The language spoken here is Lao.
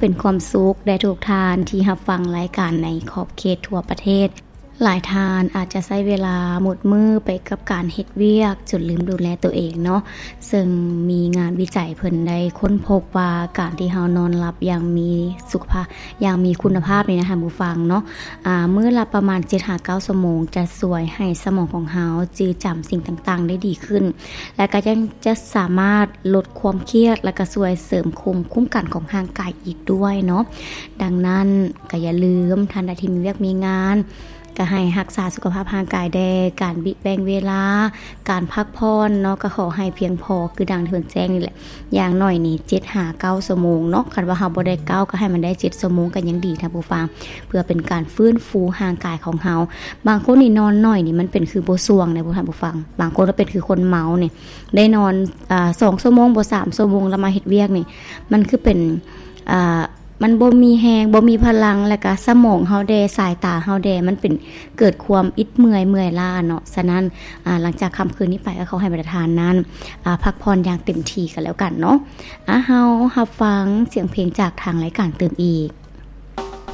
ເປັນຄວາມສຸກແດ່ທຸກທ່ານທີ່ຮັບຟັງລາຍການໃນຂອບເຂດທົ່ວປະເທດ. ຫຼາຍທ່ານອາດຈະໃຊ້ເວລາໝົດມື້ໄປກັບການເຮັດວຽກຈົນລືມດູແລໂຕເອງເນາະ, ເຊິ່ງມີງານວິໄຈເພິ່ນໄດ້ຄົ້ນພົບວ່າ ການທີ່ເຮົານອນຫຼັບຢ່າງມີສຸຂະພາບ ຢ່າງມີຄຸນນະພາບນີ້ນະທ່ານຜູ້ຟັງເນາະ, ອາ ມື້ລະປະມານເຈັດຫາເກົ້າຊົ່ວໂມງ ຈະຊ່ວຍໃຫ້ສະໝອງຂອງເຮົາຈື່ຈຳສິ່ງຕ່າງໆໄດ້ດີຂຶ້ນ ແລະ ກໍຍັງຈະສາມາດລົດຄວາມຄຽດ ແລະ ກໍຊ່ວຍເສີມພູມຄຸ້ມກັນຂອງຮ່າງກາຍອີກດ້ວຍເນາະ. ດັ່ງນັ້ນກໍຢ່າລືມ ທ່ານໃດທີ່ມີວຽກມີງານ ກໍໃຫ້ຮັກສາສຸຂະພາບຮ່າງກາຍແດ່, ການແບ່ງເວລາ ການພັກຜ່ອນເນາະ ກໍຂໍໃຫ້ພຽງພໍ ຄືດັ່ງທີ່ເພິ່ນແຈ້ງນີ້ແຫຼະ, ຢ່າງໜ້ອຍນີ້ເຈັດຫາເກົ້າຊົ່ວໂມງເນາະ. ຄັນວ່າເຮົາບໍ່ໄດ້ເກົ້າ ກໍໃຫ້ມັນໄດ້ເຈັດຊົ່ວໂມງກໍຍັງດີທ່ານຜູ້ຟັງ, ເພື່ອເປັນການຟື້ນຟູຮ່າງກາຍຂອງເຮົາ. ບາງຄົນນີ້ນອນໜ້ອຍນີ້ ມັນເປັນຄືບໍ່ສ່ວງເດ້ທ່ານຜູ້ຟັງ, ບາງຄົນກໍເປັນຄືຄົນເມົານີ້ ໄດ້ນອນ ອາ ສອງຊົ່ວໂມງບໍ່ ສາມຊົ່ວໂມງ ແລ້ວມາເຮັດວຽກນີ້ ມັນຄືເປັນ ອາ ມັນບໍ່ມີແຮງ ບໍ່ມີພະລັງ ແລ້ວກະສະໝອງເຮົາແດ່ ສາຍຕາເຮົາແດ່ ມັນເປັນເກີດຄວາມອິດເມື່ອຍ ເມື່ອຍລ້າເນາະ. ສະນັ້ນ ອາ ຫຼັງຈາກຄ່ຳຄືນນີ້ໄປ ກໍຂໍໃຫ້ບັນດາທ່ານນັ້ນ ອາ ພັກຜ່ອນຢ່າງເຕັມທີ່ກັນແລ້ວກັນເນາະ. ອາ ເຮົາຮັບຟັງສຽງເພງຈາກທາງລາຍການຕື່ມອີກ.